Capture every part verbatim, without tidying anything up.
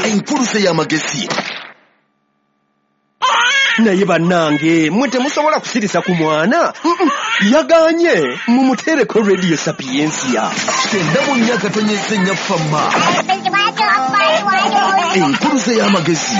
Enkuluze y'amagezi. Naye bannange, mwe temusobola kusirisa ku mwana. Yaganye, mumuteereko Radio Sapientia. Kyenda mu nnya katonyeze nnya fama. Enkuluze y'amagezi.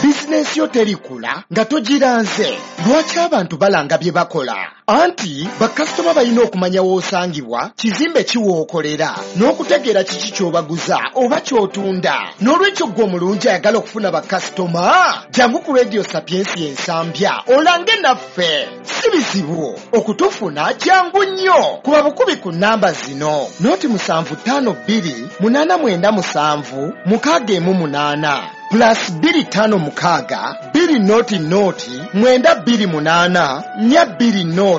Bizinensi yo terikula nga togiranze. Lwaki abantu balanga bye bakola? Anti bakasitoma balina okumanya w'osangibwa, kizimbe ki w'okolera, n'okutegeera kiki ky'obaguza oba ky'otunda. N'olwekyo ggwe omulungi ayagala okufuna bakasitoma, jangu ku Radio Sapientia Ensambya olange naffe. Si bizibu okutufuna, kyangu nnyo. Kuba bukubi ku nnamba zino: noti musanvu ttaano bbiri munaana mwenda musanvu mukaaga emu munaana, plus bbiri ttaano mukaaga bbiri noti noti mwenda bbiri munaana nnya bbiri noti,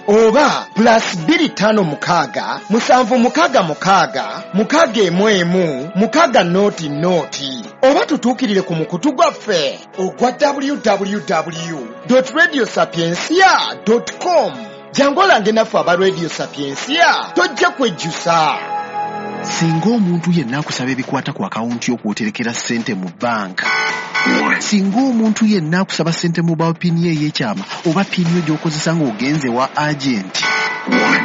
oba plus bbiri ttaano mukaaga musanvu mukaaga mukaaga mukaaga emu emu mukaaga noti noti, oba tutuukirire ku mukutu gwaffe ogwa w w w radio sapiencia com. Jangu olange naffe aba Radio Sapiencia, tojja kwejjusa. Singa omuntu yenna akusaba ebikwata ku akawunti y'okwoterekera ssente mu banka, singa omuntu yenna akusaba ssente mu PIN yo ey'ekyama oba PIN yo gy'okozesa ng'ogenze wa agenti,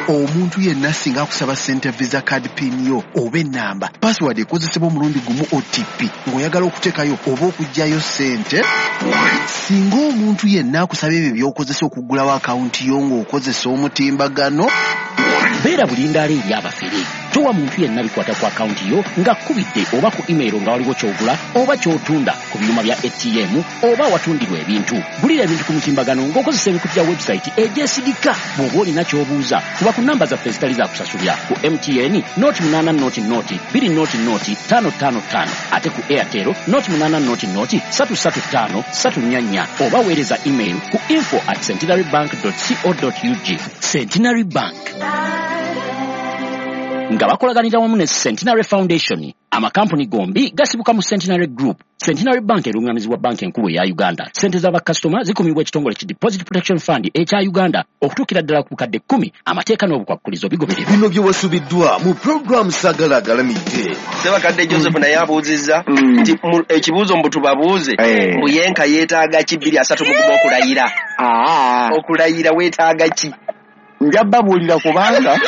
omuntu yenna singa akusaba ssente, Visa card PIN yo oba ennamba, password ekozesebwa omulundi gumu, O T P, ng'oyagala okuteekayo oba okuggyayo ssente, singa omuntu yenna akusaba ebyo by'okozesa okuggulawo akawunti yo ng'okozesa omutimbagano, Beera bulindaala eri abafere. Towa muntu yenna bikwata ku akawunti yo ng'akkubidde oba ku email nga waliwo ky'ogula oba ky'otunda ku byuma bya A T M oba awatundirwa ebintu. Gulira ebintu ku mutimbagano ng'okozesa emikutu gya website egyesigika. Bw'oba olina ky'obuuza, kuba ku namba zaffe ezitali za kusasulira: ku M T N noti munaana noti noti bbiri noti noti ttaano ttaano ttaano, ate ku Airtel noti munaana noti noti ssatu ssatu ttaano ssatu nnya nnya, oba weereza email ku info at centenary bank co ug. Centenary Bank nga bakolaganira wamu ne Centenary Foundation. Amakampuni gombi gasibuka mu Centenary Group. Centenary Bank erungamizibwa Banka Enkulu eya Uganda. Sente z'abakasitoma zikumibwa ekitongole ki Deposit Protection Fund ekya Uganda okutuukira ddala ku bukadde kkumi. Amateeka n'obukwakkulizo bigobererwa. Bino bye wasubiddwa mu pulogulaamu Sagala Agalamidde. Sebakadde Joseph naye abuuzizza nti mu- ekibuuzo mbu tubabuuze Eh. mbu yenka yeetaaga ki bbiri asatu mu gumu okulayira? Aa, Okulayira weetaaga ki? Nja babuulira kubanga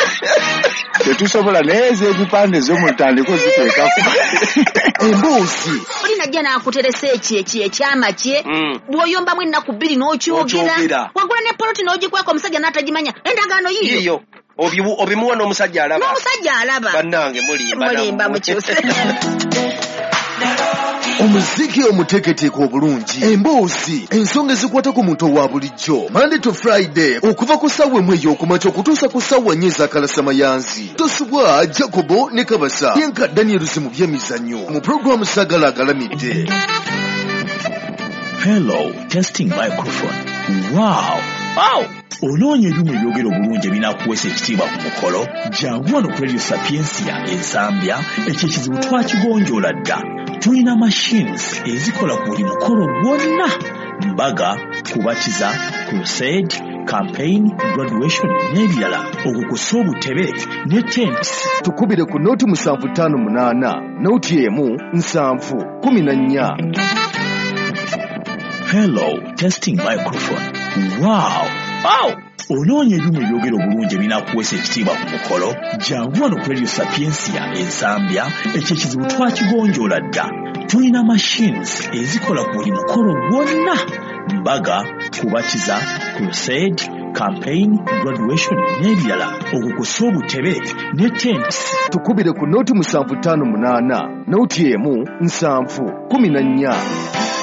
tetusobola, naye ez'ebipande zo mutandike oziteekako. Emboozi. Oli najja n'akuteresa eki eki ekyama kye, Mm. bw'oyombamu ennaku bbiri n'okyogera. N'okyogera. Wagula ne poloti n'ogikweka omusajja n'atagimanya, endagaano yiyo. Yiyo. Obimu- obimuwa n'omusajja alaba. N'omusajja alaba. Bannange, mulimba. Mulimba. Nammwe. Mukyuse. Omuziki omuteeketeeke obulungi, emboozi, ensonga ezikwata ku muntu owa bulijjo, Monday to Friday okuva ku ssaawa emu ey'okumakya okutuusa ku ssaawa nnya ez'akalasamayanzi. Tosubwa Jacobo ne Kabasa yenka Daniels mu byemizannyo mu pulogulaamu Sagala Agalamidde. Hello, testing microphone. Wow! Wow! Onoonya ebyuma ebyogera obulungi ebinaakuweesa ekitiibwa ku mukolo? Jangu wano ku Radio Sapiencia Ensambya, ekyo ekizibu twakigonjoola dda. Tulina machines ezikola ku buli mukolo gwonna: mbaga, kubatiza, crusade, campaign, graduation n'ebirala, okwo kw'ossa obutebe ne tents. Tukubire ku noti musanvu ttaano munaana noti emu nsanvu kumi na nnya. Hello, testing microphone. Wow! Wow! Onoonya ebyuma ebyogera obulungi ebinaakuweesa ekitiibwa ku mukolo? Jangu wano ku Radio Sapiencia Ensambya, ekyo ekizibu twakigonjoola dda. Tulina machines ezikola ku buli mukolo gwonna: mbaga, kubatiza, crusade, campaign, graduation n'ebirala, okwo kw'ossa obutebe ne tents. Tukubire ku noti musanvu ttaano munaana noti emu nsanvu kumi na nnya.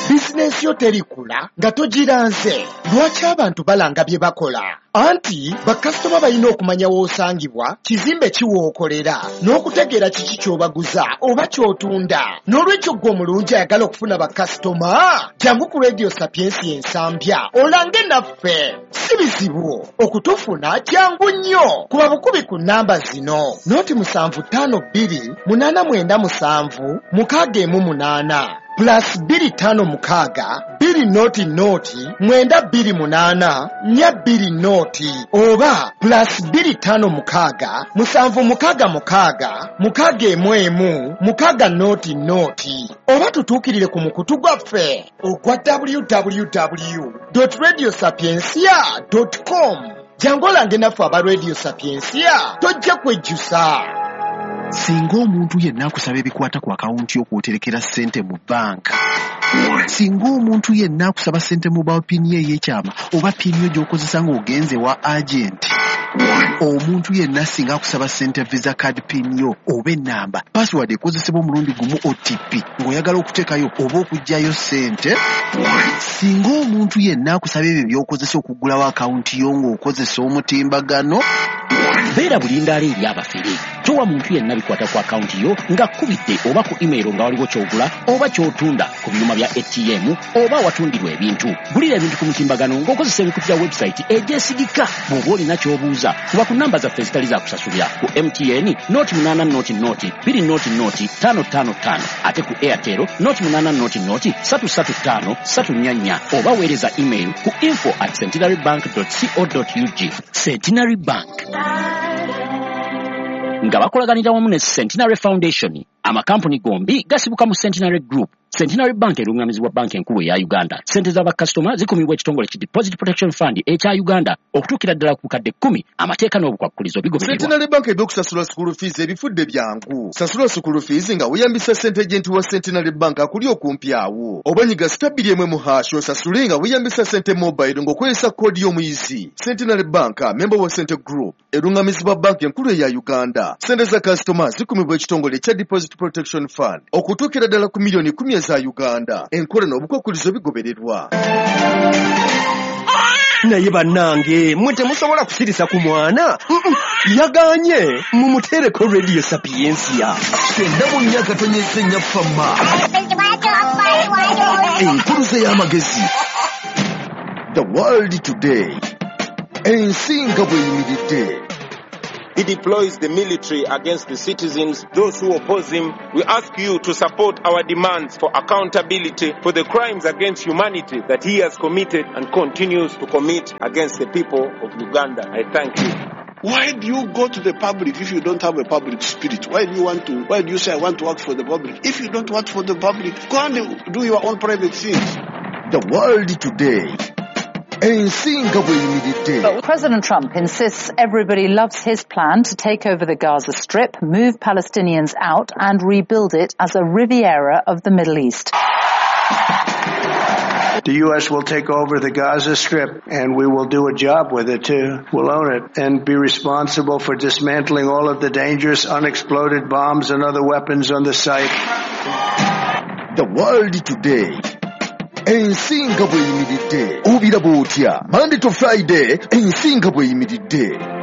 Bizinensi yo terikula nga togiranze. Lwaki abantu balanga bye bakola? Anti bakasitoma balina okumanya w'osangibwa, kizimbe ki w'okolera, n'okutegeera kiki ky'obaguza oba ky'otunda. N'olwekyo ggwe omulungi ayagala okufuna bakasitoma, jangu ku Radio Sapientia Ensambya olange naffe. Si bizibu okutufuna, kyangu nnyo. Kuba bukubi ku nnamba zino: noti musanvu ttaano bbiri munaana mwenda musanvu mukaaga emu munaana, plus bbiri ttaano mukaaga bbiri bbiri noti noti mwenda bbiri munaana nnya bbiri noti oba plus bbiri ttaano mukaaga musanvu mukaaga mukaaga mukaaga emu emu mukaaga noti noti oba tutuukirire ku mukutu gwaffe ogwa w w w dot radio sapientia dot com. Jangu olange naffe aba Radio Sapientia, tojja kwejjusa. Singa omuntu yenna akusaba ebikwata ku akawunti yo kw'oterekera ssente mu bbanka, singa omuntu yenna akusaba ssente mobile pin ye ey'ekyama oba pin yo gy'okozesa ng'ogenze wa agenti, omuntu yenna singa akusaba ssente visa card pin yo oba ennamba, password ekozesebwa omulundi gumu O T P ng'oyagala okuteekayo oba okuggyayo ssente, singa omuntu yenna akusaba ebyo by'okozesa okuggulawo akawunti yo ng'okozesa omutimbagano, beera bulindaala eri abafere. Towa muntu yenna bikwata ku akawunti yo ng'akubidde oba ku email nga waliwo ky'ogula oba ky'otunda ku byuma bya A T M oba awatundirwa ebintu. Gulira ebintu ku mutimbagano ng'okozesa emikutu gya website egyesigika. Bw'oba olina ky'obuuza, kuba ku namba zaffe ezitali za kusasulira ku M T N noti munaana noti noti bbiri noti noti ttaano ttaano ttaano, ate ku Airtel noti munaana noti noti ssatu ssatu ttaano ssatu nnya nnya, oba weereza email ku info at centenary bank dot co dot ug. Centenary Bank nga bakolaganira wamu ne Centenary Foundation. Amakampuni gombi gasibuka mu Centenary Group. Centenary Bank erungamizibwa banka enkulu eya Uganda. Ssente z'abakasitoma zikumibwa ekitongole ki Deposit Protection Fund ekya Uganda okutuukira ddala ku bukadde kkumi. Amateeka n'obukwakkulizo bigobererwa. Centenary Bank ebyokusasula school fees ebifudde byangu. Sasula school fees nga weeyambisa ssente agent wa Centenary Bank akuli okumpi awo. Oba nyiga star bbiri emu mu hash osasule nga weeyambisa ssente mobile ng'okozesa koodi y'omuyizi. Centenary Bank, member wa Cente Group, erungamizibwa banka enkulu eya Uganda. Ssente za kasitoma zikumibwa ekitongole ekya Deposit Protection Fund okutuukira ddala ku miliyoni kkumi eza Uganda. Enkola n'obukwakkulizo bigobererwa. Naye bannange, mmwe temusobola kusirisa ku mwana. Yagaanye mumuteereko Radio Sapientia. Kyenda mu nnya katonyeze nnya fama. Enkuluze y'amagezi. The World Today. Ensi nga bw'eyimiridde. He deploys the military against the citizens, those who oppose him. We ask you to support our demands for accountability for the crimes against humanity that he has committed and continues to commit against the people of Uganda. I thank you. Why do you go to the public if you don't have a public spirit? Why do you want to, why do you say I want to work for the public? If you don't work for the public, go and do your own private things. The World Today. But President Trump insists everybody loves his plan to take over the Gaza Strip, move Palestinians out and rebuild it as a Riviera of the Middle East. The U S will take over the Gaza Strip, and we will do a job with it, too. We'll own it and be responsible for dismantling all of the dangerous unexploded bombs and other weapons on the site. The World Today. Ensi nga bw'eyimiridde. Obiraba otya? Monday to Friday, ensi nga bw'eyimiridde.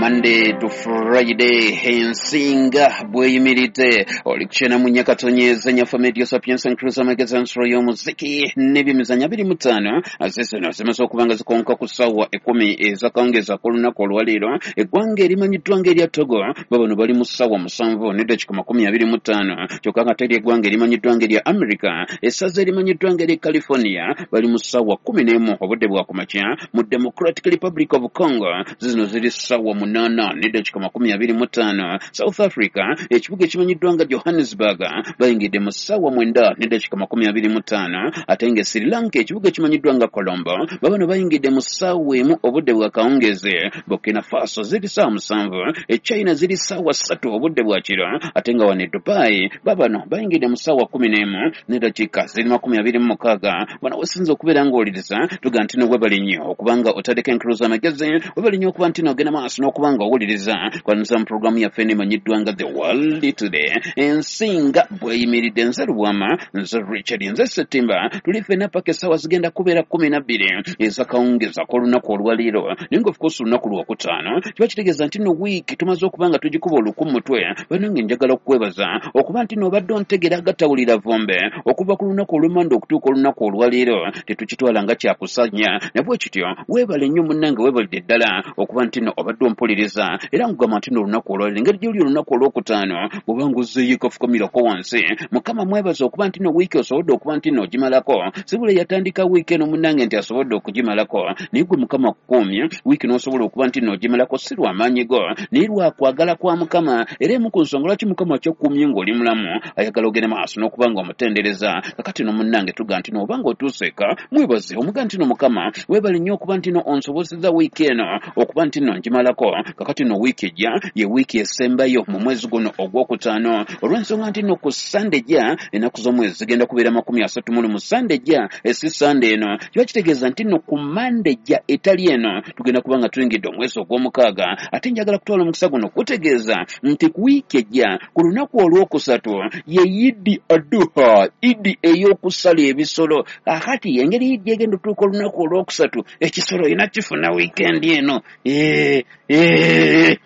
Monday to Friday, ensinga bweyimiridde. Oli kukyena mu Nyakatonyeza Nyafa Media Sapiens and Cruiser Magazine nsolo y'omuziki n'ebyemizannyo abiri mu ttaano. Zino zimaze okuba nga zikonka ku ssaawa ekkumi ez'akawungeezi ak'olunaku olwaleero. Eggwanga erimanyiddwa ng'erya Togo babano bali mu ssaawa musanvu n'eddakiika makumi abiri mu ttaano. Kyokka nga teri eggwanga erimanyiddwa ng'erya America, essaza erimanyiddwa ng'erya California bali mu ssaawa kkumi n'emu obudde bwa kumakya. Mu Democratic Republic of Congo zino ziri ssaawa munaana n'eddakiika makumi abiri mu ttaano. South Africa ekibuga ekimanyiddwa nga Johannesburg bayingidde mu ssaawa mwenda n'eddakiika makumi abiri mu ttaano. Ate nga Sri Lanka ekibuga ekimanyiddwa nga Colombo babano bayingidde mu ssaawa emu obudde bwa kawungeezi. Burkina Faso ziri ssaawa musanvu, e China ziri ssaawa ssatu obudde bwa kiro. Ate nga wano e Dubai babano bayingidde mu ssaawa kkumi n'emu n'eddakiika ziri makumi abiri mu mukaaga. Wano wesinza okubeera ng'owuliriza tuga nti no webale nnyo okubanga otadeko enkuluza amagezi, webale nnyo okuba nti n'ogenda maaso n'okubanga owuliriza kwaniriza mu pulogulaamu yaffe emanyiddwa nga The World Today. Ensinga bweyimiridde. Nze Lubwama, nze Richard, nze Ssettimba. Tuli ffenna paka essaawa zigenda kubeera kkumi na bbiri ez'akawungeezi ak'olunaku olwaleero. Naye nga of course olunaku lwokutaano kiba kitegeeza nti no wiiki tumaze okuba nga tugikuba oluku mu mutwe. Bannange njagala okukwebaza okuba nti n'obadde ontegera agatawulira vumbe okuva ku lunaku olw'emmande okutuuka olunaku olwaleero. Tetukitwala nga kyakusanya, na bwe kityo weebale nnyo munnange, weebalidde ddala okuba nti no obadde obadde ompuliriza era nkugamba nti n'olunaku olwaleero engeri gy'oli olunaku olwokutaano bw'obanga ozzeeyo ekafukamirako wansi Mukama mwebaza okuba nti no wiiki osobolodde okuba nti no ogimalako. Sibula yatandika wiiki eno munnange nti asobodde okugimalako, naye gwe Mukama akukuumye wiiki n'osobola okuba nti no ogimalako si lwa maanyi go naye lwa kwagala kwa Mukama. Era emu ku nsonga lwaki Mukama akyakuumye ng'oli mulamu ayagala ogende maaso n'okuba nga omutendereza. Kakati no munnange tuga nti no obanga otuuse eka mwebaze omuga nti no Mukama weebale nnyo okuba nti no onsobozezza wiiki eno okuba nti no ngimalako. Kakati no wiiki ejja ye wiiki esembayo mu mwezi guno ogwokutaano olw'ensonga nti no ku Sande ejja ennaku z'omwezi zigenda kubeera makumi asatu mu lumu. Sande ejja esi Sande eno kiba kitegeeza nti no ku Mande ejja etali eno tugenda kuba nga tuyingidde omwezi ogw'omukaaga. Ate njagala kutwala omukisa guno kutegeeza nti ku wiiki ejja ku lunaku olwokusatu ye Idi Aduha, Idi ey'okusala ebisolo. Kakati engeri Idi egenda otuuka olunaku olwokusatu ekisolo olina kifuna wiikendi eno. Eh, eh.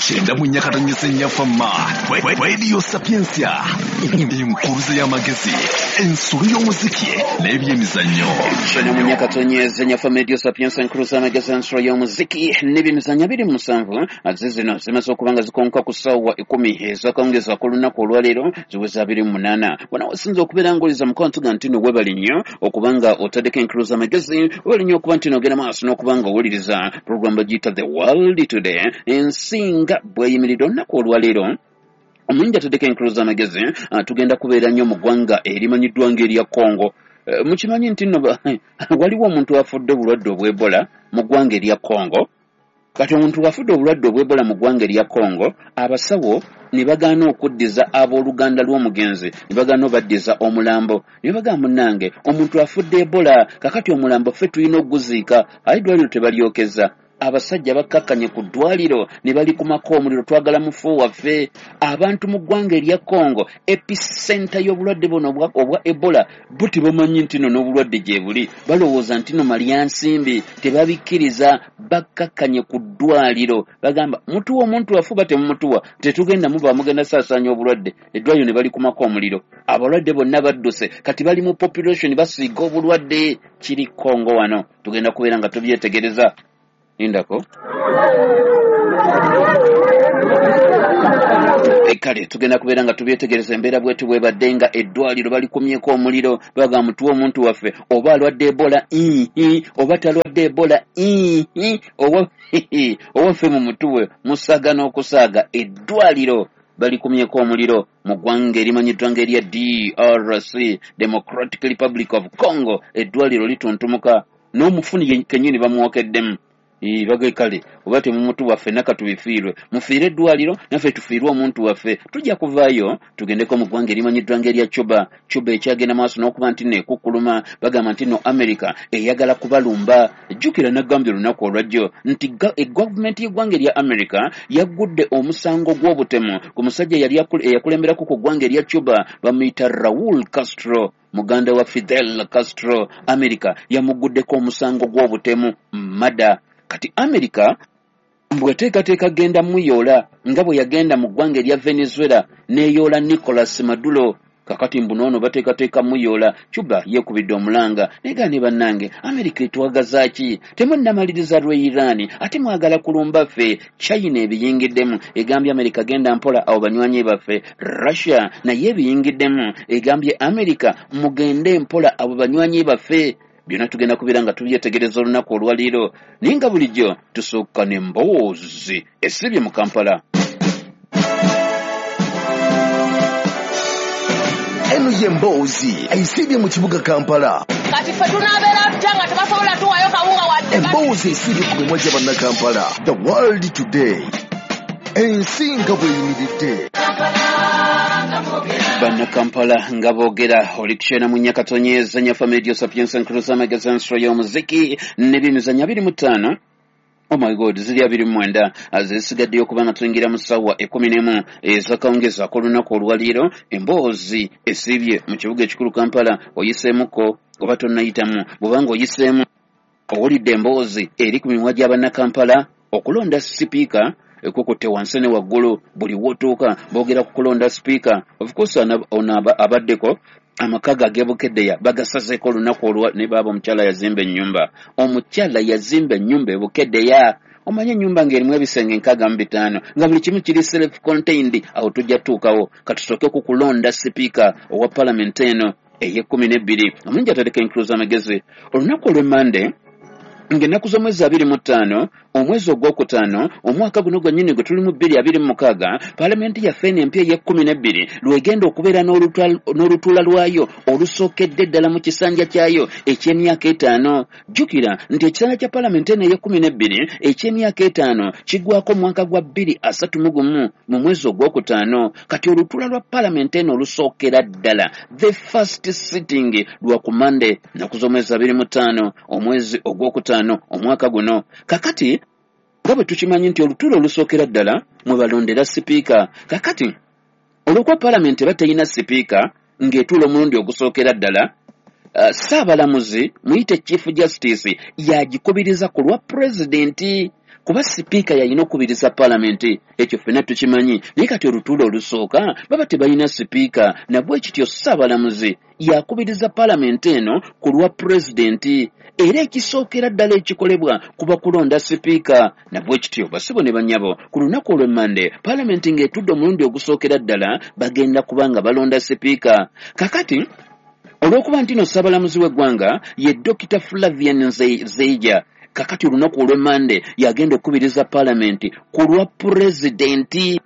Kyenda mu nnyakatanyisa ennyafamma Radio Sapientia, enkuluze y'amagezi, ensolo y'omuziki n'ebyemizannyo. Kyenda mu nnyakatonyeza ennyafamma Radio Sapientia, enkuluze y'amagezi, ensolo y'omuziki n'ebyemizannyo abiri mu musanvu ze zino zimaze okuba nga zikonka ku ssaawa ekkumi ez'akawungeezi ak'olunaku olwaleero ziweza abiri mu munaana. Wano wasinza okubeera ng'oliza mukwano tuga nti no weebale nnyo okuba nga otaddeko enkuluze y'amagezi, weebale nnyo okuba nti n'ogenda maaso n'okuba nga owuliriza puroguramu bagiyita The World Today, ensinga bweyimiridde olunaku olwaleero. Omuyingi ataddeko enkuluze y'amagezi, tugenda kubeera nnyo mu ggwanga erimanyiddwa ng'erya Congo. Mukimanyi nti nno waliwo omuntu afudde obulwadde obw'Ebola mu ggwanga erya Congo. Kati omuntu afudde obulwadde obw'Ebola mu ggwanga erya Congo, abasawo ne bagaana okuddiza abooluganda lw'omugenzi, ne bagaana obaddiza omulambo. Ne bagamba munnange omuntu afudde Ebola, kakati omulambo ffe tulina okuguziika, aye eddwaliro tebalyokeza. Abasajja bakkakkanye ku ddwaliro ne balikumako omuliro, twagala mufu waffe. Abantu mu ggwanga erya Congo, epicenter y'obulwadde buno obwa Ebola, bo tebamanyi nti nno n'obulwadde gye buli, balowooza nti nno malyansimbi, tebabikkiriza, bakkakkanye ku ddwaliro. Bagamba mutuwa omuntu waffe oba temumutuwa, tetugenda muba mugenda saasaanya obulwadde. Eddwaliro ne balikumako omuliro, abalwadde bonna badduse, kati bali mu population basiiga obulwadde. Kiri Congo wano, tugenda kubeera nga tubyetegereza. Indako kale tugenda kubeera nga tubyetegereza embeera bwetu bwebadde nga eddwaliro balikumyeko omuliro, bagamba mutuwe omuntu waffe oba alwadde Ebola ihi oba talwadde Ebola ihi oba owaffe mumutuwe, musaaga n'okusaaga. Eddwaliro balikumyeko omuliro mu ggwanga erimanyiddwa ng'erya D R C, Democratic Republic of Congo. Eddwaliro lituntumuka n'omufuni kennyini bamwokeddemu. Bage kale oba temumutuwa ffenna katubifiirwe, mufiire eddwaliro naffe tufiirwe omuntu waffe. Tujja kuvaayo tugendeko mu ggwanga erimanyiddwa ng'erya Cuba. Cuba ekyagenda maaso n'okuba nti nno ekukkuluma, bagamba nti nno America eyagala kubalumba. Jjukira nagambye olunaku olwajjo nti gavumenti y'eggwanga erya America yaggudde omusango gw'obutemu ku musajja eyali eyakulemberako ku ggwanga erya Cuba, bamuyita Raul Castro, muganda wa Fidel Castro. America yamuguddeko omusango gw'obutemu mada. Kati America bw'eteekateeka genda muyoola nga bwe yagenda mu ggwanga erya Venezuela n'eyoola Nicolas Maduro. Kakati mbu n'ono bateekateeka muyoola. Cuba yeekubidde omulanga naye ne bannange America etwagaza ki? Temunnamaliriza lwe Iran ate mwagala kulumba ffe. China ebiyingiddemu egambye America genda mpola abo banywanyi baffe. Russia naye ebiyingiddemu egambye America mugende mpola abo banywanyi baffe. Byonna tugenda kubeera nga tubyetegereza olunaku olwaleero, naye nga bulijjo tusooka n'emboozi esibye mu Kampala. Eno ye mboozi esibye mu kibuga Kampala. Kati ffe tunaabeera tutya nga tebasobola tuwaayo kawunga wadde? Emboozi esibye ku mimwa gya Bannakampala. The World Today, ensi nga bweyimiridde. Bannakampala nga boogera oli kukyena mu nnyakatonyeza nyafa Radio Sapientia nkuluza amagezi ensolo y'omuziki n'ebyemizannyo abiri mu ttaano. Oh my God, ziri abiri mu mwenda zisigaddeyo okuba nga tuyingira mu ssaawa ekkumi n'emu ez'akawungeezi ak'olunaku olwaleero. Emboozi esiibye mu kibuga ekikulu Kampala, oyiseemuko oba tonnayitamu? Bw'obanga oyiseemu owulidde emboozi eri ku mimwa gya Bannakampala okulonda sipiika ekukutte wansi ne waggulu. Buli w'otuuka boogera ku kulonda sipiika. Of course ono abaddeko amaka ge ag'e bagasazeeko olunaku olwa ne baaba omukyala yazimba ennyumba. Omukyala yazimba ennyumba e Bukeddeya. Omanye ennyumba ng'erimu ebisenge nkaaga mu bitaano nga buli kimu kiri self contained. Awo tujja tuukawo. Katusooke ku kulonda sipiika owa palamenti eno ey'ekkumi n'ebbiri. Omulungi atereka enkulu z'amagezi, olunaku olw'emmande ng'ennaku z'omwezi abiri mu ttaano omwezi ogwokutaano omwaka guno gwennyini gwe tulimu bbiri abiri mu mukaaga, paalamenti yaffe eno empya ey'ekkumi n'ebbiri lwegenda okubeera n'olutuula lwayo olusookedde ddala mu kisanja kyayo eky'emyaka etaano. Jjukira nti ekisanja kya paalamenti eno ey'ekkumi n'ebbiri eky'emyaka etaano kiggwako mwaka gwa bbiri asatu mu gumu mu mwezi ogwokutaano. Kati olutuula lwa paalamenti eno olusookera ddala, the first sitting, lwa ku Mande nnaku z'omwezi abiri mu ttaano omwezi ogwokutaano omwaka guno. Kakati nga bwe tukimanyi nti olutuula olusookera ddala mwe balondera sipiika, kakati olw'okuba paalamenti eba teyina sipiika ng'etuula omulundi ogusookera ddala, uh, ssaabalamuzi muyite Chief Justice yagikubiriza ku lwa pulezidenti, kuba sipiika yalina okukubiriza paalamenti, ekyo ffenna tukimanyi. Naye kati olutuula olusooka baba tebalina sipiika, nabwe kityo ssaabalamuzi yakubiriza paalamenti eno ku lwa pulezidenti, era ekisookera ddala ekikolebwa kuba kulonda sipiika. Nabwe kityo basibo ne bannyabo, ku lunaku olw'emmande paalamenti ng'etudde omulundi ogusookera ddala bagenda kuba nga balonda sipiika. Kakati olw'okuba nti no ssaabalamuzi w'eggwanga ye Dokita Flavian Zeija, kakati olunaku olw'emmande yagenda okukubiriza paalamenti ku lwa pulezidenti.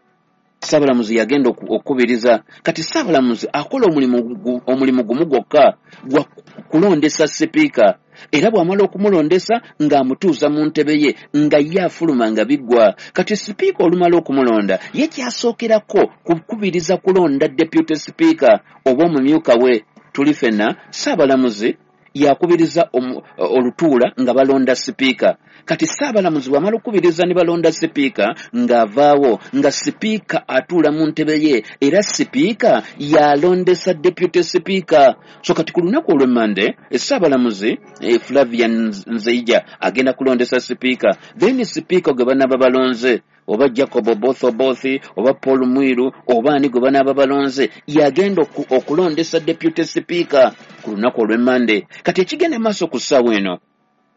Ssaabalamuzi yagenda okukubiriza. Kati ssaabalamuzi akola omulimu omulimu gumu gwokka gwa kulondesa sipiika, era bw'amala okumulondesa ng'amutuuza mu ntebe ye nga ye afuluma nga biggwa. Kati sipiika olumala okumulonda ye kyasookerako kukubiriza kulonda deputy sipiika oba omumyuka we. Tuli ffenna ssaabalamuzi yakubiriza olutuula nga balonda sipiika. Kati ssaabalamuzi bw'amala okukubiriza ne balonda sipiika ng'avaawo nga sipiika atuula mu ntebe ye, era sipiika yalondesa deputy sipiika. So kati ku lunaku olw'emmande ssaabalamuzi eh, Flavian Nzeija agenda kulondesa sipiika, then sipiika gwe banaaba balonze oba Jacob Oboth Oboth oba Paul Mwiru oba ani gwe banaaba balonze yagenda okulondesa deputy sipiika ku lunaku olw'emmande. Kati ekigenda maaso ku ssaawa eno,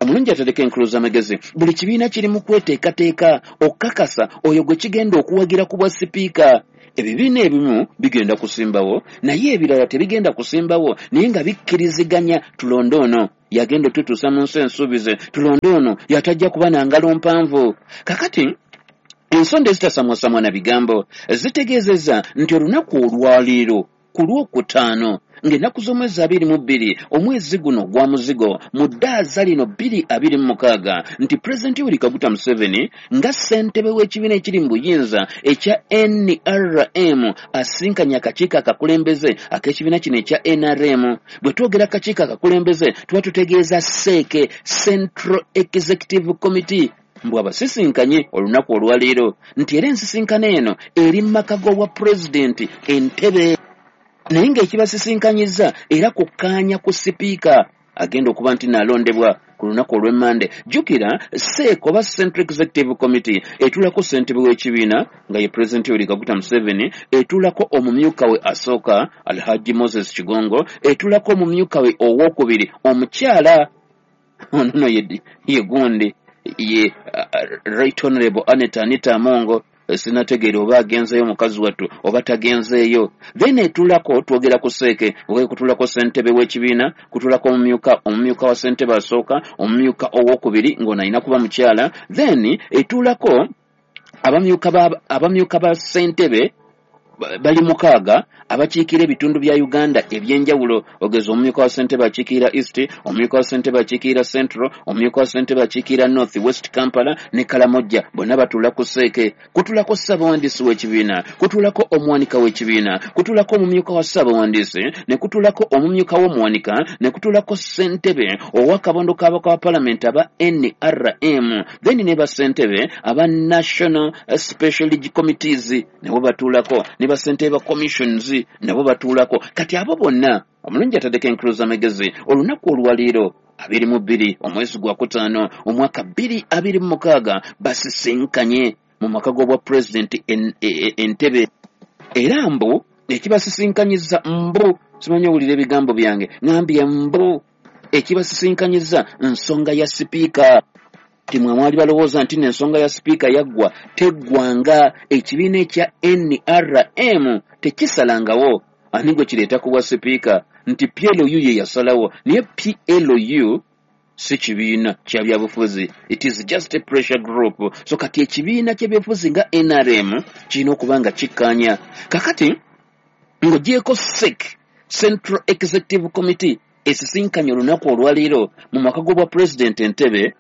omulungi atereka enkulu z'amagezi, buli kibiina kiri mu kweteekateeka okukakasa oyo gwe kigenda okuwagira ku bwa sipiika. Ebibiina ebimu bigenda kusimbawo naye ebirala tebigenda kusimbawo, naye nga bikkiriziganya tulonde ono yagenda otutuusa mu nsi ensuubize, tulonde ono yatajja kuba na ngalo mpanvu. Kakati ensonda ezitasamwasamwa na bigambo zitegeezezza nti olunaku olwaleero ku lwokutaano ng'ennaku z'omwezi abiri mu bbiri omwezi guno gwa muzigo mu ddaaza lino bbiri abiri mu mukaaga nti Pulezidenti Yoweri Kaguta Museveni nga ssentebe w'ekibiina ekiri mu buyinza ekya N R M asinkanye akakiiko akakulembeze ak'ekibiina kino ekya N R M. Bwe twogera akakiiko akakulembeze tuba tutegeeza SEC, Central Executive Committee, mbu abasisinkanye olunaku olwaleero nti era ensisinkano eno eri mu maka g'obwa pulezidenti Entebbe, naye ng'ekibasisinkanyiza era kukkaanya ku sipiika agenda okuba nti naalondebwa ku lunaku olw'emmande. Jjukira SEC oba Central Executive Committee etuulako ssentebe w'ekibiina nga ye Pulezidenti Yoweri Kaguta Museveni, etuulako omumyuka we asooka Alhaji Moses Kigongo, etuulako omumyuka we owookubiri omukyala ono no ye, ye gundi ye uh, Right Honorable Anita Anita Amongo, sinategeera oba agenzeeyo mukazi wattu oba tagenzeeyo. Then etuulako twogera ku SEC, oba kutuulako ssentebe w'ekibiina, kutuulako omumyuka omumyuka wa ssentebe asooka, omumyuka owookubiri ng'ono alina kuba mukyala. Then etuulako abamyuka ba abamyuka ba ssentebe bali mukaaga abakiikira ebitundu bya Uganda ebyenjawulo, ogeza omumyuka wa ssentebe akiikirira East, omumyuka wa ssentebe akiikirira Central, omumyuka wa ssentebe akiikirira North West Kampala ne Kalamojja, bonna batuula ku SEC. Kutuulako ssabawandiisi w'ekibiina, kutuulako omuwanika w'ekibiina, kutuulako omumyuka wa ssabawandiisi, ne kutuulako omumyuka w'omuwanika, ne kutuulako ssentebe ow'akabondo k'ababaka ba paalamenti aba N R M, then ne bassentebe aba National Special Committees nabo batuulako, ne bassentebe ba commissions nabo batuulako. Kati abo bonna omulungi ataddeko enkulu z'amagezi olunaku olwaleero abiri mu bbiri omwezi gwa kutaano omwaka bbiri abiri mu mukaaga basisinkanye mu maka g'obwa pulezidenti Entebbe, era mbu ekibasisinkanyiza mbu simanyi owulira ebigambo byange ŋambye mbu ekibasisinkanyiza nsonga ya sipiika. Timwe mwali balowooza nti n'ensonga ya sipiika yaggwa, teggwanga. Ekibiina ekya N R M tekisalangawo ani gwe kireeta ku bwa sipiika, nti P L U ye yasalawo. Naye P L U si kibiina kya byabufuzi, it is just a pressure group. So kati ekibiina ky'ebyobufuzi nga N R M kirina okuba nga kikkaanya. Kakati ng'ogyeko S E C, Central Executive Committee, esisinkanye olunaku olwaleero mu maka g'obwa President Entebbe.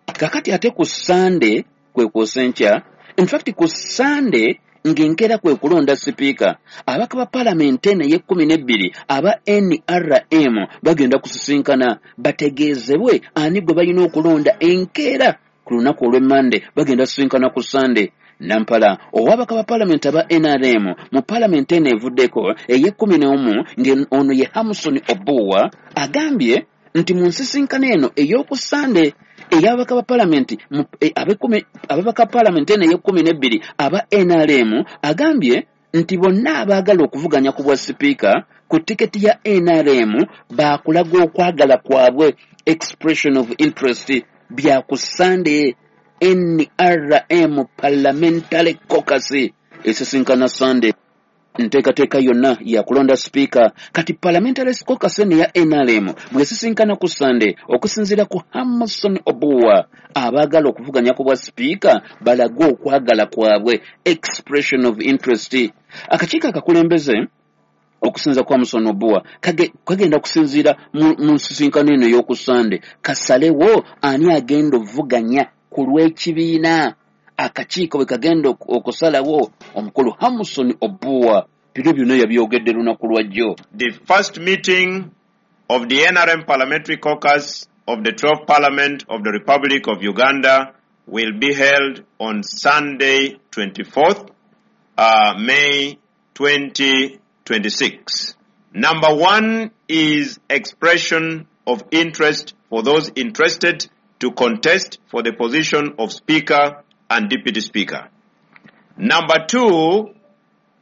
Kakati ate ku Sunday kwe kwosa enkya, in fact ku Sunday ng'enkeera kwe kulonda sipiika, ababaka ba paalamenti eno ey'ekkumi n'ebbiri aba N R M bagenda kusisinkana bategeezebwe ani gwe balina okulonda enkeera ku lunaku olw'Emmande. Bagenda kusisinkana ku Sunday. Nampala ow'ababaka ba paalamenti aba N R M mu paalamenti eno evuddeko ey'ekkumi n'omu, ng'ono ye Hamson Obua, agambye nti mu nsisinkano eno ey'oku Sunday ey'ababaka ba paalamenti ababaka ba paalamenti eno ey'ekkumi n'ebbiri aba N R M, agambye nti bonna abaagala okuvuganya ku bwa sipiika ku tiketi ya N R M baakulaga okwagala kwabwe, expression of interest, bya ku Sunday. N R M Parliamentary Caucus esisinkana Sunday, nteekateeka yonna ya kulonda sipiika. Kati Parliamentary Caucus eno ya N R M bw'esisinkana ku Sunday, okusinziira ku Hamson Obua, abaagala okuvuganya ku bwa sipiika balage okwagala kwabwe, expression of interest. Akakiiko akakulembeze okusinza kwa Hamson Obua kagenda kusinziira mu nsisinkano eno ey'oku Sunday, kasalewo ani agenda okuvuganya ku lw'ekibiina. Akakiiko bwe kagenda okusalawo, omukulu Hamson Obua bino byonna yabyogedde lunaku lwa jjo. The first meeting of the N R M Parliamentary Caucus of the twelfth Parliament of the Republic of Uganda will be held on Sunday twenty-fourth uh, May twenty twenty-six. Number one is expression of interest for those interested to contest for the position of Speaker and Deputy Speaker. Number two,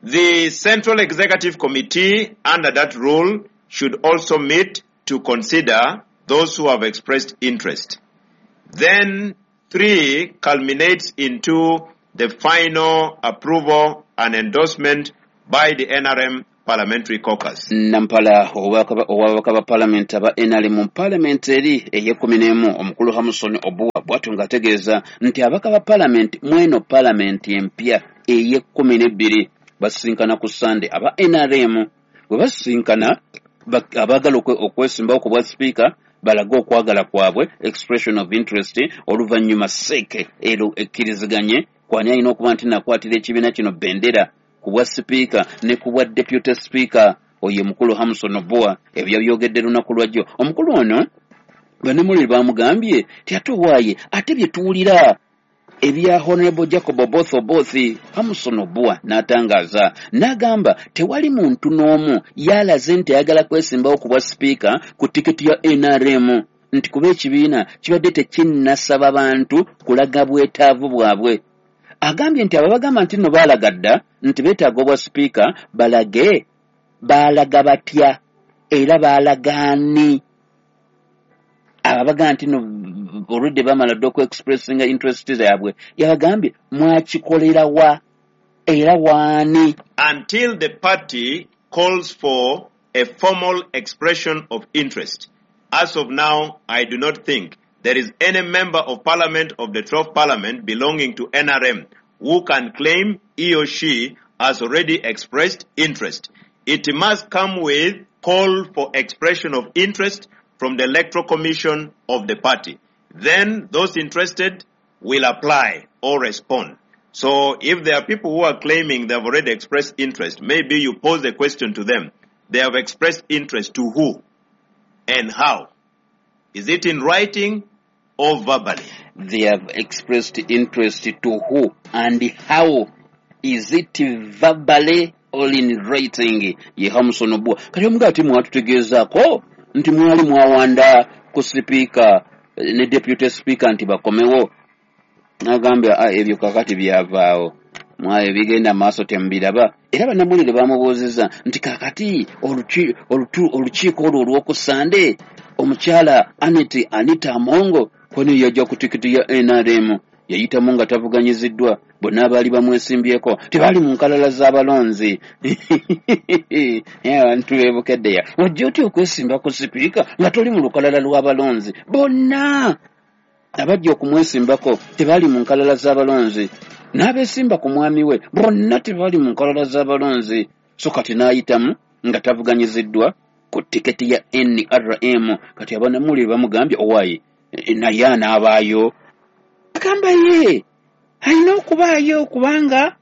the Central Executive Committee under that rule should also meet to consider those who have expressed interest. Then three culminates into the final approval and endorsement by the N R M Parliamentary Caucus. Nampala ow'ababaka ba Parliament aba N R M mu Parliament eri ey'ekkumi n'emu, omukulu Hamson Obua bw'atyo ng'ategeeza nti ababaka ba Parliament mweno Parliament empya ey'ekkumi n'ebbiri basisinkana ku Sunday. Aba N R M bwe basisinkana, abaagala okwesimbawo ku bwa sipiika balage okwagala kwabwe, expression of interest, oluvannyuma S E C ero ekkiriziganye kwani alina okuba nti nakwatira ekibiina kino bendera ku bwa sipiika ne ku bwa deputy speaker. Oyo mukulu Hamson Obua ebyo yabyogedde lunaku lwa jjo. Omukulu ono bannamawulire bamugambye ti ate owaaye ate bye tuwulira ebya Honorable Jacob Oboth Oboth, Hamson Obua n'atangaaza n'agamba tewali muntu n'omu yalaze nti ayagala kwesimbawo ku bwa sipiika ku tiketi ya N R M, nti kuba ekibiina kibadde tekinnasaba bantu kulaga bwetaavu bwabwe. Agambye nti ababagamba nti nno baalaga dda nti beetaaga obwa sipiika balage baalaga batya era baalaga ani. Ababaga nti nno olwedde bamala dda okuexpressinga interest zaabwe, yabagambye mwakikolera wa era waani. Until the party calls for a formal expression of interest. As of now, I do not think there is any member of parliament of the twelfth parliament belonging to N R M who can claim he or she has already expressed interest. It must come with call for expression of interest from the Electoral Commission of the party. Then those interested will apply or respond. So if there are people who are claiming they have already expressed interest, maybe you pose the question to them. They have expressed interest to who and how? Is it in writing or verbally? They have expressed interest to who and how? Is it verbally or in writing? Ye Hamson Obua. Kati omuga ati mwatutegeezaako nti mwali mwawanda ku sipiika ne deputy speaker nti bakomewo. Nagambye ebyo kakati byavaawo, mwayo bigenda maaso temubiraba. Era bannamawulire bamubuuzizza nti kakati olukiiko olwo olw'oku Sande omukyala Annet Anita Amongo Kony yajja ku tikiti ya N R M, yayitamu nga tavuganyiziddwa, bonna abaali bamwesimbyeko tebaali mu nkalala z'abalonzi. Abantu beebukeddeya, wajja otya okwesimba ku sipiika nga toli mu lukalala lw'abalonzi? Bonna abajja okumwesimbako tebaali mu nkalala z'abalonzi, n'abeesimba ku mwami we bonna tebaali mu nkalala z'abalonzi. So kati n'ayitamu nga tavuganyiziddwa ku tiketi ya N R M. Kati abanamuli bamugambye owaayi naye anaabaayo, agamba ye alina okubaayo kubanga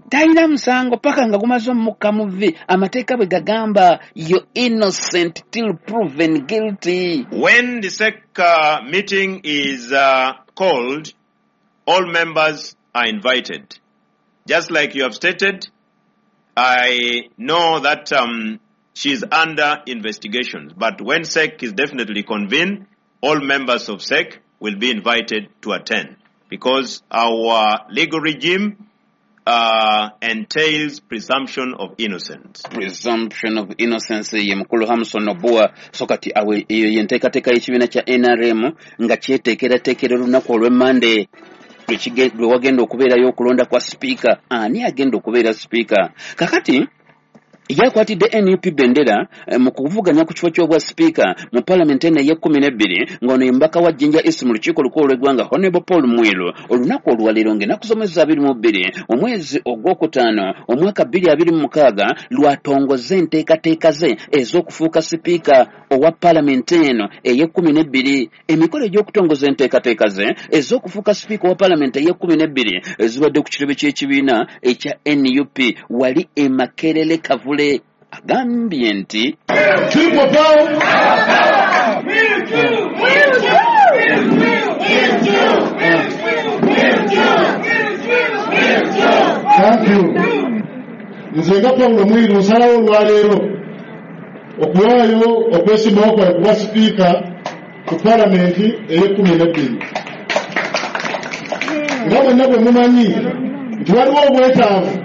talina musango paka nga gumaze omukka mu vvi. Amateeka bwe gagamba, you're innocent till proven guilty. When the S E C uh, meeting is uh, called, all members are invited. Just like you have stated, I know that um, she is under investigation, but when S E C is definitely convened, all members of S E C will be invited to attend, because our legal regime uh, entails presumption of innocence. Presumption of innocence ye mukulu Hamson Obua. So kati awe eyo yenteekateeka y'ekibiina kya N R M nga kyeteekerateekera olunaku olw'Emmande lwe wagenda okubeerayo okulonda kwa sipiika. Ani agenda okubeera sipiika? Kakati yakwatidde N U P bendera mu kuvuganya ku kifo ky'obwa sipiika mu palamenti eno ey'ekkumi n'ebbiri, ng'ono ye mubaka wa Jinja East mu lukiiko olukulu olw'eggwanga Honorable Paul Mwiru. Olunaku olwaleero ng'ennaku z'omwezi abiri mu bbiri omwezi ogwokutaano omwaka bbiri abiri mu mukaaga lwatongoza enteekateeka ze ez'okufuuka sipiika owa palamenti eno ey'ekkumi n'ebbiri. Emikolo egy'okutongoza enteekateeka ze ez'okufuuka sipiika owa palamenti ey'ekkumi n'ebbiri ezibadde ku kitebe ky'ekibiina ekya N U P wali e Makerere Kavule. Agambye nti Thank you. Nze nga Paulo Mwiru nsalawo olwaleero okuwaayo okwesimbawo kwange kuba sipiika ku palamenti ey'ekkumi n'ebbiri. Nga mwenna bwe mumanyi nti waliwo obwetaavu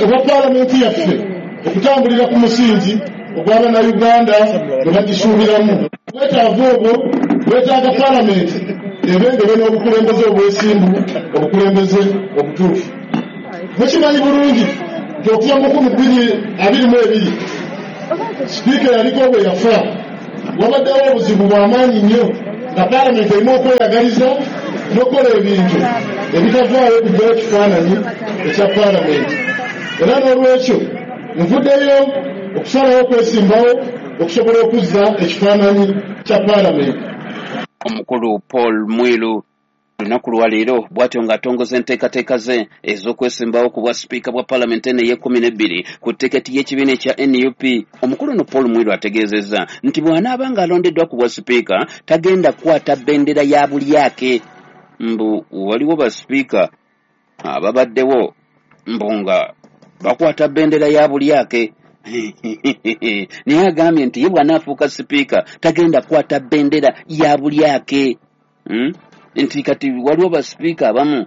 obwa palamenti yaffe okutambulira ku musingi ogw'abannayuganda bwe bagisuubiramu. Obwetaavu obwo bwetaaga palamenti ebengebe n'obukulembeze obwesimbu, obukulembeze obutuufu. Mukimanyi bulungi nti okuva mu nkumi bbiri abiri mu ebiri sipiika yaliko bwe yafa, wabaddewo obuzibu bw'amaanyi nnyo nga palamenti erina okweyagaliza n'okukola ebintu ebitavaayo okugyayo ekifaananyi ekya palamenti. Era n'olwekyo nvuddeyo okusalawo okwesimbawo okusobola okuzza ekifaananyi kya palamenti. Omukulu Paul Mwiru lunaku lwaleero bw'atyo ng'atongoza enteekateeka ze ez'okwesimbawo ku bwa sipiika bwa palamenti eno ey'ekkumi n'ebbiri ku tiketi y'ekibiina ekya N U P. Omukulu ono Paul Mwiru ategeezezza nti bw'anaaba ng'alondeddwa ku bwa sipiika tagenda kukwata bendera ya bulyake. Mbu waliwo basipiika ababaddewo mbu nga bakwata bendera ya bulyake. Naye agambye nti ye bw'anaafuuka sipiika tagenda kukwata bendera ya bulyake. Hmm? Nti kati waliwo basipiika abamu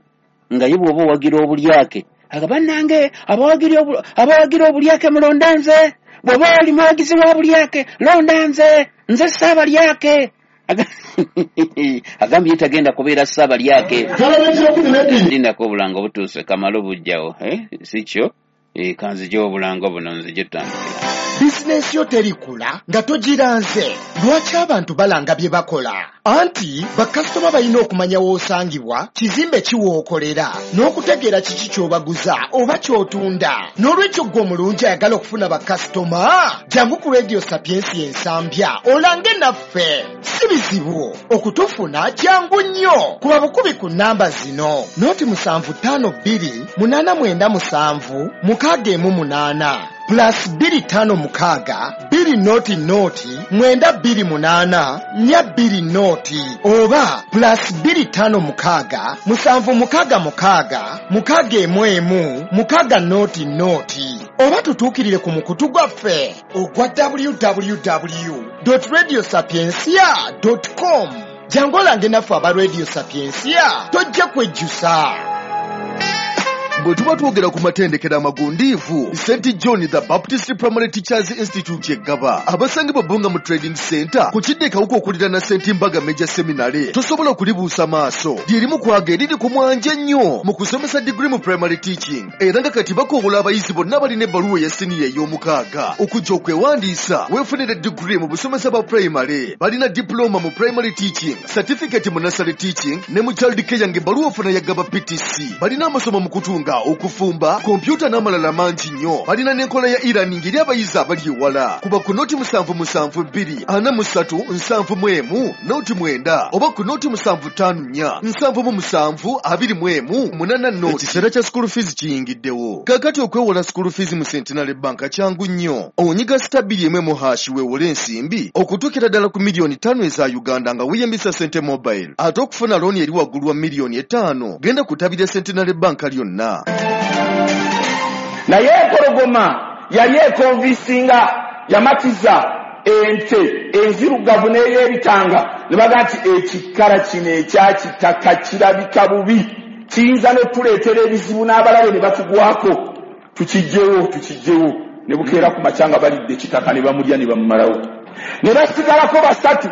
nga ye bw'oba owagira obulyake aga bannange abawagira obulyake mulonda nze, bw'oba oli muwagizi wa bulyake londa nze, nze ssaabalyake. Agambye tagenda kubeera ssaabalyake. Lindako obulango butuuse kamalo bujjawo, eh? Si kyo? Eh, kanzije obulango buno nzije tutandikira. Bizinensi yo terikula nga togiranze. Lwaki abantu balanga bye bakola? Anti bakasitoma balina okumanya w'osangibwa, kizimbe ki w'okolera, n'okutegeera kiki ky'obaguza oba ky'otunda. N'olwekyo ggwe omulungi ayagala okufuna bakasitoma, jangu ku Radio Sapiensia Ensambya olange naffe. Si bizibu okutufuna, jangu nnyo. Kuba bukubi ku nnamba zino: noti musanvu ttaano bbiri munaana mwenda musanvu mukaaga emu munaana plus bbiri ttaano mukaaga bbiri noti noti mwenda bbiri munaana nnya bbiri noti oba plus bbiri ttaano mukaaga musanvu mukaaga mukaaga mukaaga emu emu mukaaga noti noti oba tutuukirire ku mukutu gwaffe ogwa w w w dot radio sapiensia dot com. Jangu olange naffe aba Radio Sapiensia, tojja kwejjusa. Bwe tuba twogera ku matendekero amagundiivu, Saint John the Baptist Primary Teachers Institute eggaba abasangibwa Bbunga mu Trading Center ku kidde Kawuka okuliraana Saint Mbaga Major Seminary. Tosobola kulibuusa maaso, lyerimu kwaga eriri ku mwanje ennyo mu kusomesa degree mu primary teaching, era nga kati bakoowola abayizi bonna balina ebbaluwa eya siniya ey'omukaaga okujja okwewandiisa weefunire degree mu busomesa bwa primary. Balina diploma mu primary teaching, certificate mu nursery teaching ne mu child care ng'ebbaluwa ofuna ya Gaba P T C. Balina amasomo mu kutunga, okufumba, kompyuta n'amalala mangi nnyo. Balina n'enkola ya e-learning eri abayizi abali ewala. Kuba ku noti musanvu musanvu bbiri ana mu ssatu nsanvu mu emu noti mwenda oba ku noti musanvu ttaano nnya nsanvu mu musanvu abiri mu emu munana noti. Ekiseera kya school fees kiyingiddewo. Kaakati okwewola school fees mu Centenary Bank kyangu nnyo. Onyiga sita bbiri emu emu hash weewole ensimbi okutuukira ddala ku miliyoni ttaano eza Uganda nga weeyambisa Sente Mobile. Ate okufuna looni eri waggulu wa miliyoni etaano genda kutabira Centenary Bank lyonna. Naye empologoma yali ekonvisinga, yamatiza ente enzirugavu n'ey'ebitanga ne baga nti ekikala kino ekyakitaka kirabika bubi, kiyinza n'otuleetera ebizibu n'abalabe ne batugwako, tukijjewo tukijjewo. Ne bukeera ku makya nga balidde ekitaka ne bamulya ne bamumalawo. Ne basigalako basatu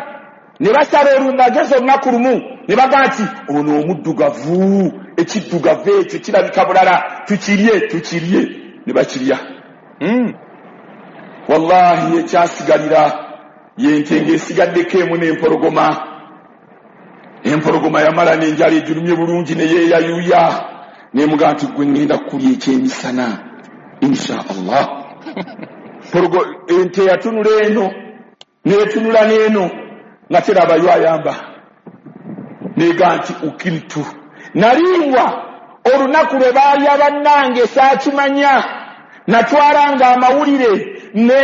ne basala olumagezi olunaku lumu ne baga nti ono omuddugavu, ekiddugavu ekyo kirabika bulala, tukirye tukirye. Ne bakirya. Mm. Wallahi ekyasigalira yente ng'esigaddeko emu n'empologoma. Empologoma yamala n'enjala egirumye bulungi ne yeeyayuya nemugaa nti gwe ŋŋenda kukulya ekyemisana insha Allah. Ente yatunula eno n'etunula n'eno nga terabayo ayamba nega nti ukiltu naliwa olunaku lwe baalya bannange saakimanya, natwalanga amawulire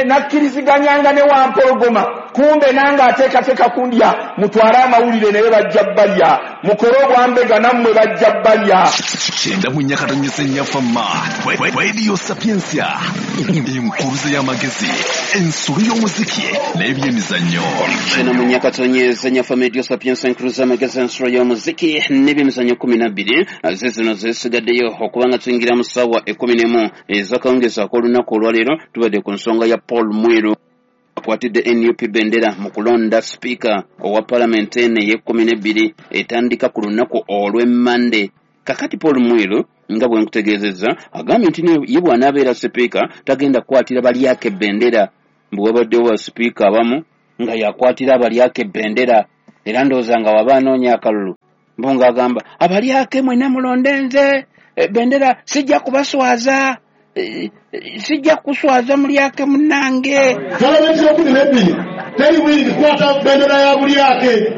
nakkiriziganyanga ne wampologoma, kumbe nange ateekateeka kundya, mutwale amawulire naye bajja balya, mukole obwambega nammwe bajja balya. Kyenda mu nnyakatonyesa ennyafama Radio Sapientia, enkuruze y'amagezi, ensulu y'omuziki n'ebyemizannyo. Kyenda mu nnyakatonyesa ennyafama Radio Sapientia, enkuruze y'amagezi, ensulu y'omuziki n'ebyemizannyo kumi na bbiri ze zino zesigaddeyo okubanga tuyingira mu ssaawa ekkumi n'emu ez'akawungeezi ak'olunaku olwaleero. Tubadde ku nsonga ya Paul Mwiru akwatidde N U P bendera mu kulonda sipiika owa palamenti eno ey'ekkumi n'ebbiri etandika ku lunaku olw'emmande. Kakati Paul Mwiru nga bwe nkutegeezezza agambye nti ye bw'anaabeera sipiika tagenda kukwatira balyako ebendera. Mbu wabaddewo ba sipiika abamu nga yakwatira abalyako ebendera, era ndowooza nga waba anoonya akalulu mbu ng'agamba abalyake mwenna mulonde nze, bendera sijja kubaswaza, sijja kuswaza mulyake munnange. Palamenti y'ekkumi n'ebbiri teri bwingi kukwata bendera ya bulyake,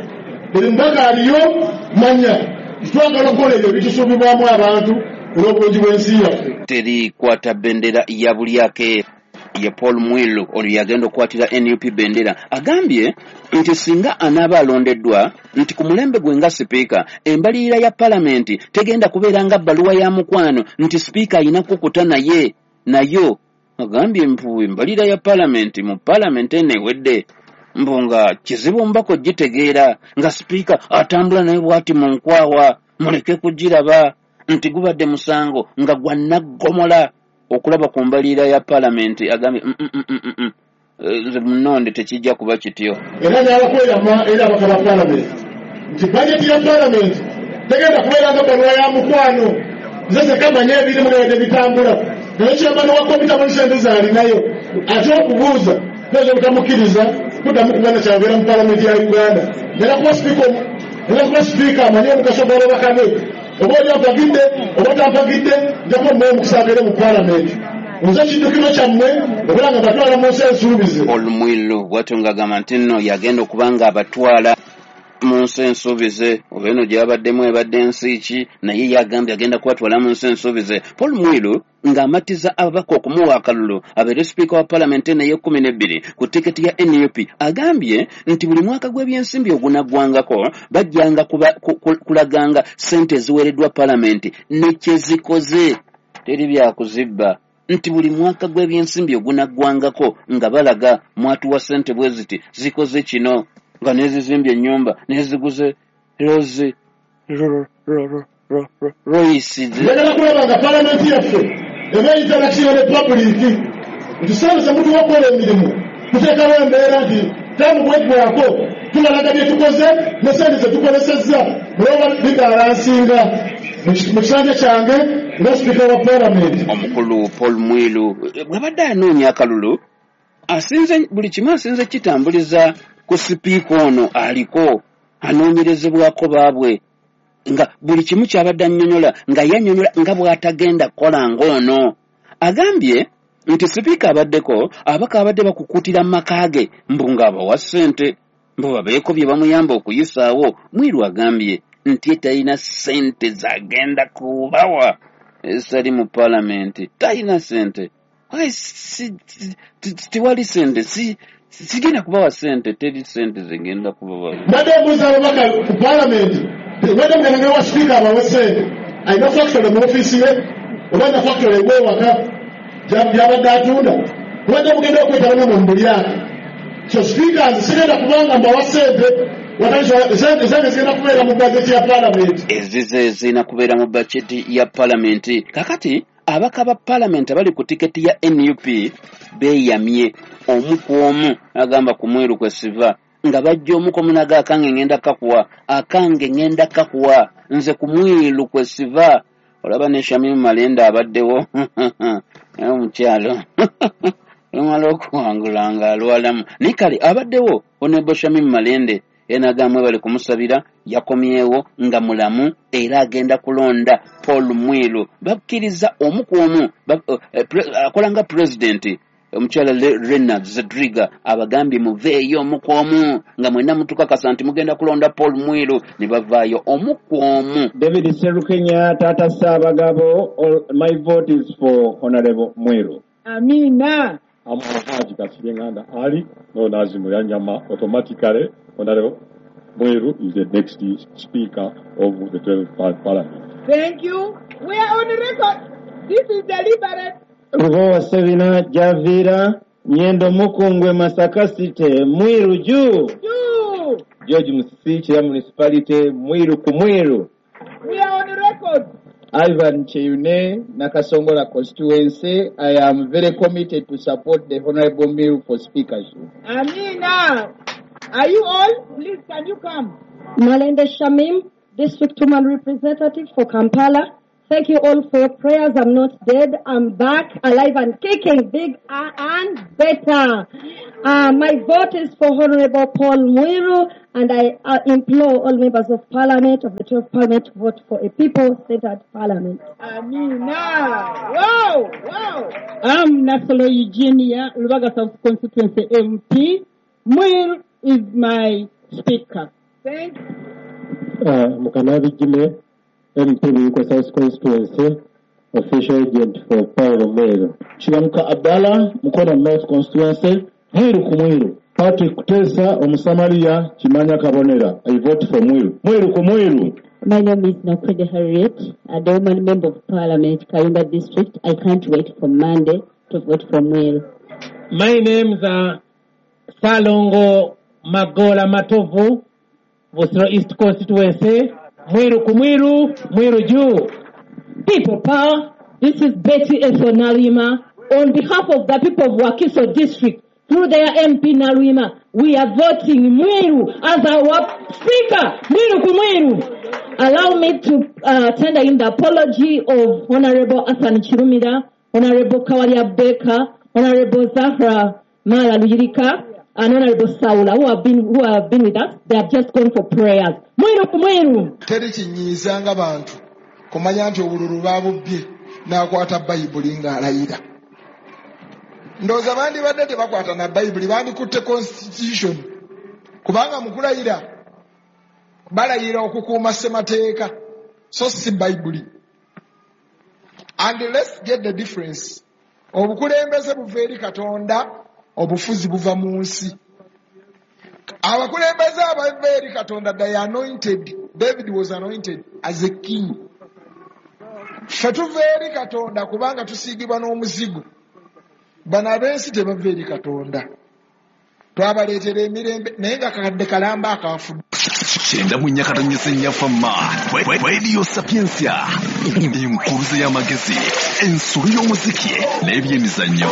buli mbaga aliyo manya twagala okukola ebyo ebitusuubibwamu abantu olw'obulungi bw'ensi yaffe. Teri kwata bendera ya bulyake ye Paul Mwiru ono yagenda okukwatira N U P bendera. Agambye nti singa anaaba alondeddwa nti ku mulembe gwe nga sipiika embalirira ya palamenti tegenda kubeera nga bbaluwa ya mukwano nti sipiika alina kukuta naye nayo. Agambye mpu embalirira ya palamenti mu palamenti eno ewedde mbu nga kizibu mbako gitegeera nga sipiika atambula naye bw'ati mu nkwawa, muleke kugiraba nti gubadde musango nga gwa naggomola okulaba ku mbalirira ya palamenti. Agambye nze munonde tekijja kuba kityo. Era n'abakweyama era abaka ba palamenti nti bajeti ya palamenti tegenda kubeera nga bbaluwa ya mukwano, nze sekamanya ebirimu nga bitambula naye kyamani wa kompyuta mu ssente z'alinayo ate okubuuza nze butamukkiriza kuddamu kubana kyabeera mu palamenti ya Uganda. Era kuba sipiika era kuba sipiika amanye omugaso gw'ababaka be, oba oli ampagidde oba tampagidde nja kuba mmuwa omukisa abeere mu palamenti. Nze kiddukiro kyammwe obeera nga batwala mu nsi ensuubize. Paul Mwiru bw'atyo ng'agamba nti nno yagenda okuba nga abatwala mu nsi ensuubize, oba eno gy'abaddemu ebadde nsi ki, naye yagambye agenda kubatwala mu nsi ensuubize. Paul Mwiru ng'amatiza ababaka okumuwa akalulu abeere sipiika wa palamenti eno ey'ekkumi n'ebbiri ku tiketi ya N U P, agambye nti buli mwaka gw'ebyensimbi ogunaggwangako bajjanga kulaganga ssente eziweereddwa palamenti ne kye zikoze, teri byakuzibba. Nti buli mwaka gw'ebyensimbi ogunaggwangako nga balaga mwatuwa ssente bwe ziti zikoze kino, nga nezizimbye ennyumba neziguze rozi Royce. Njagala kulaba nga palamenti yaffe eba interaction ne public nti sente zemutuwa okukola emirimu tuteekawo embeera nti taamu bweggwako tulalaga bye tukoze ne sente zetukolesezza olwoba bibalansinga mu kisanja kyange nga sipiika wa palamenti. Omukulu Paul Mwiru bw'abadde anoonya akalulu asinze buli kimu asinze kitambuliza ku sipiika ono aliko anoonyerezebwako baabwe nga buli kimu kyabadde annyonnyola nga yannyonnyola nga bw'atagenda kukola ng'ono. Agambye nti sipiika abaddeko abaka abadde bakukuutira mu maka ge mbu ng'abawa ssente mbu babeeko bye bamuyamba okuyisaawo. Mwiru agambye nti talina ssente z'agenda kubawa ezitali mu paalamenti, talina ssente, tiwali ssente, sigenda kubawa ssente, teri ssente zigenda kubawa. Mbadde mbuuza ababaka ku paalamenti, mbadde mugenda wa sipiika abawe ssente, alina factory mu ofiisi ye oba alina factory ew'ewaka gy'abadde atunda, mbadde mugenda okwetaba mu mulyaka. So sipiika nze sigenda kubanga mbawa ssente, ezange zigenda kubeera mu bajeti ya paalamenti. Ezize zirina kubeera mu bajeti ya paalamenti. Kakati abaka ba paalamenti abali ku tiketi ya N U P beeyamye omu ku omu agamba ku Mwiru kwe siva nga bajja omu ku omu naga akange ngenda kakuwa, akange ngenda kakuwa, nze ku Mwiru kwe siva. Olaba ne Shamim Malende abaddewo omukyalo lumala okuwangula nga alwalamu, naye kale abaddewo Honorable Shamim Malende enagambwe bali kumusabira yakomyewo nga mulamu era agenda kulonda Paul Mwiru. Bakkiriza omu ku omu akola nga pulezidenti omukyala Rena Zedriga abagambye muveeyo omu ku omu nga mwenna mutukakasa nti mugenda kulonda Paul Mwiru, ne bavaayo omu ku omu. David Serukenya, Tata Ssaabagabo, my vote is for Honorable Mwiru. Amina. Haji Kasirye Ali known as Muyanyama, automatically Honorable Mwiru is the next speaker of the twelfth Parliament. Thank you. We are on record. This is deliberate. Rugowa Sevina Javira Nyendo Mukungwe Masaka City Mwiru juu. Juu. George Musisi Kira Municipality Mwiru ku Mwiru. We are on record. Ivan Cheyune, Nakasongola constituency. I am very committed to support the Honorable Mwiru for speakership. Amina. Are you all? Please, can you come? Malende Shamim, District Woman Representative for Kampala. Thank you all for your prayers. I'm not dead. I'm back, alive and kicking, big and better. Uh, my vote is for Honorable Paul Mwiru, and I uh, implore all members of Parliament, of the twelfth Parliament, to vote for a people-centered Parliament. Amina. Wow, wow. I'm Nasolo Eugenia, Lubaga South Constituency M P. Mwiru is my speaker. Thank you. Uh, Mukanabi Jime, M P Buikwe South Constituency, official agent for Paul Mwiru. Kiwanuka Abdallah, Mukono North Constituency, Mwiru ku Mwiru. Patrick Kutesa, Omusamaria, Kimanya Kabonera. I vote for Mwiru. Mwiru ku Mwiru. My name is Nakwede Harriet, a woman member of Parliament, Kayunga District. I can't wait for Monday to vote for Mwiru. My name is uh, Salongo Magola Matovu, Busiro East Constituency. Mwiru ku Mwiru, Mwiru juu. People power, this is Betty Eso Nalima. On behalf of the people of Wakiso District, through their M P Nalima, we are voting Mwiru as our speaker. Mwiru ku Mwiru. Allow me to uh, tender in the apology of Honorable Hassan Chirumira, Honorable Kawalia Baker, Honorable Zahra Mala Luyirika, and Honorable Saula, who have been who have been with us. They have just gone for prayers. Mwiru ku Mwiru. Teri kinyiiza nga bantu kumanya nti obululu babubbye n'akwata Bayibuli ng'alayira. Ndowooza bandibadde tebakwata na Bayibuli, bandikutte constitution, kubanga mu kulayira balayira okukuuma ssemateeka so si Bayibuli. And let's get the difference. Obukulembeze buva eri Katonda, obufuzi buva mu nsi. Abakulembeze abava eri Katonda, they are anointed. David was anointed as a king. Ffe tuva eri Katonda kubanga tusiigibwa n'omuzigo. Bano ab'ensi tebava eri Katonda. Twabaleetera emirembe naye nga kakadde kalamba akafudde. Kyenda mu nnya katonyeze nnyafamma Radio Sapientia, enkuluze y'amagezi, ensolo y'omuziki n'ebyemizannyo.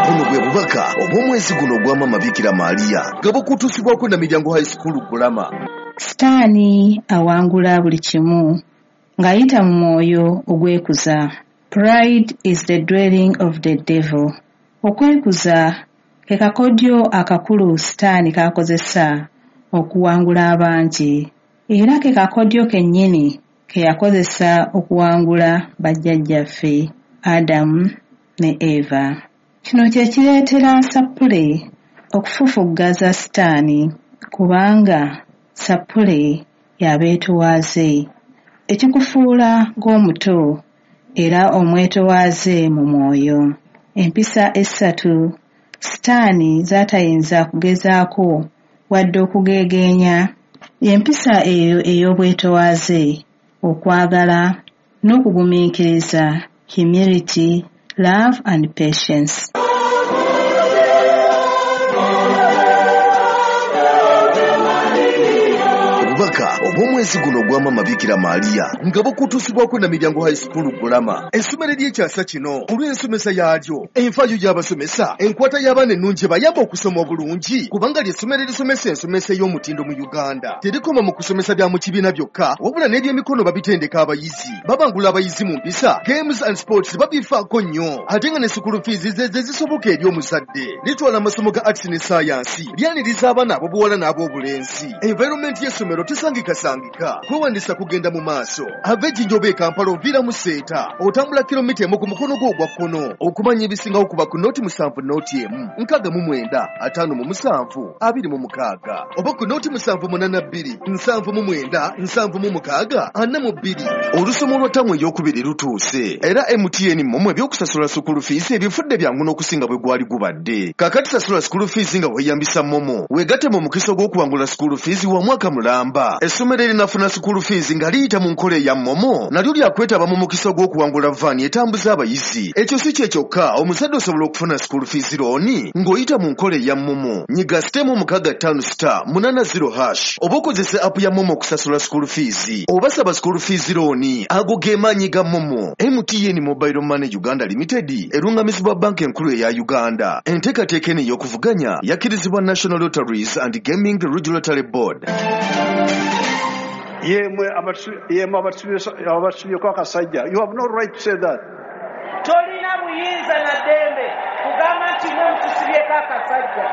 Buno bwe bubaka obw'omwezi guno ogwa Maama Bikira Maria nga bukutuusibwako na Miryango High School Gulama. Sitaani awangula buli kimu ng'ayita mu mwoyo ogwekuza. Pride is the dwelling of the devil. Okwekuza ke kakodyo akakulu Sitaani k'akozesa okuwangula abangi, era ke kakodyo kennyini ke yakozesa okuwangula bajjajjaffe Adamu ne Eva. Kino kye kireetera Sappule okufufuggaza Sitaani, kubanga Sappule y'abeetowaaze, ekikufuula ng'omuto era omwetowaaze mu mwoyo. Empisa essatu Sitaani z'atayinza kugezaako wadde okugeegeenya, y'empisa eyo ey'obwetowaaze, okwagala n'okugumiikiriza, humility, love and patience. Obubaka obw'omwezi guno ogwa Maama Bikira Maria nga bukutuusibwako na Miryango High School Gulama, essomero ery'ekyasa kino olw'ensomesa yaalyo, enfaayo y'abasomesa, enkwata y'abaana ennungi ebayamba okusoma obulungi, kubanga ly'essomero erisomesa ensomesa ey'omutindo mu Uganda. Terikoma mu kusomesa bya mu kibiina byokka, wabula n'ebyemikono babitendeka abayizi, babangula abayizi mu mpisa, games and sports babifaako nnyo, ate nga ne school fees ze ze zisoboka eri omuzadde. Litwala amasomo ga arts ne science, lyaniriza abaana ab'obuwala n'ab'obulenzi. Environment y'essomero tesangikasangika, kwewandiisa kugenda mu maaso. Ava Ejjinja oba e Kampala oviira mu Seeta, otambula kilomita emu ku mukono gwo ogwa kkono. Okumanya ebisingawo kuba ku nooti musanvu nooti emu nkaaga mu mwenda ataano mu musanvu abiri mu mukaaga, oba ku nooti musanvu munaana bbiri nsanvu mu mwenda nsanvu mu mukaaga ana mu bbiri. Olusomo lwa ttamu ey'okubiri lutuuse, era M T N MoMo ebyokusasula school fees ebifudde byangu n'okusinga bwe gwali gubadde. Kaakati sasula school fees nga weeyambisa MoMo, weegatte mu mukisa ogw'okuwangula school fees wa mwaka mulamba. Essomero erinafuna school fees nga liyita mu nkola eya MoMo nalyo lyakwetaba mu mukisa ogw'okuwangula vaani etambuza abayizi. Ekyo si kye kyokka, omuzadde osobola okufuna school fees looni ng'oyita mu nkola eya MoMo. Nyiga sitemu mukaaga ttaano star munaana zero hash oba okozese app ya MoMo okusasula school fees oba saba school fees looni. Ago ge maanyi ga MoMo. M T N Mobile Money Uganda Limited erungamizibwa banka enkulu eya Uganda. Enteekateeka eno ey'okuvuganya yakkirizibwa National Lotteries and Gaming Regulatory Board. Yemwe abatusubyeko akasajja, you have no right to say that. Tolina buyinza na ddembe kugamba nti mwe mutusibyeko akasajja.